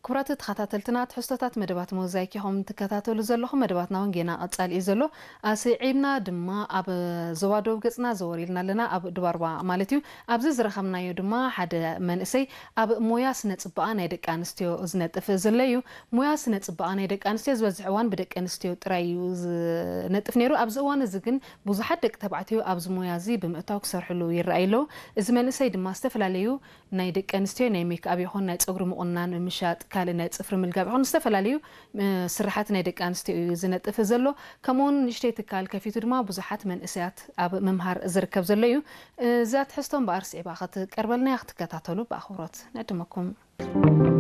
ክቡራት ተኸታተልትና፣ ትሕዝቶታት መደባት ሞዛይክ ኢኹም ትከታተሉ ዘለኹም። መደባትና እውን ጌና ቀጻሊ እዩ ዘሎ። ኣስዒብና ድማ ኣብ ዞባ ደቡብ ገጽና ዘወር ኢልና ኣለና፣ ኣብ ድባርባ ማለት እዩ። ኣብዚ ዝረኸብናዮ ድማ ሓደ መንእሰይ ኣብ ሞያ ስነ ጽባቐ ናይ ደቂ ኣንስትዮ ዝነጥፍ ዘሎ እዩ። ሞያ ስነ ጽባቐ ናይ ደቂ ኣንስትዮ ዝበዝሕ እዋን ብደቂ ኣንስትዮ ጥራይ እዩ ዝነጥፍ ነይሩ። ኣብዚ እዋን እዚ ግን ብዙሓት ደቂ ተባዕትዮ ኣብዚ ሞያ እዚ ብምእታው ክሰርሕሉ ይረኣዩ ኣለዉ። እዚ መንእሰይ ድማ ዝተፈላለዩ ናይ ደቂ ኣንስትዮ ናይ ሜክኣፕ ይኹን ናይ ጸጉሪ ምቑናን፣ ምሻጥ፣ ካልእ ናይ ጽፍሪ ምልጋብ ይኹን ዝተፈላለዩ፣ እ፣ ስራሓት ናይ ደቂ ኣንስትዮ እዩ ዝነጥፍ ዘሎ። ከምኡውን ንእሽተይ ትካል ከፊቱ ድማ ብዙሓት መንእሰያት ኣብ ምምሃር ዝርከብ ዘሎ እዩ። እዛ ትሕዝቶ እምበኣር ስዒባ ክትቀርበልና ክትከታተሉ ብኣኽብሮት ንዕድመኩም።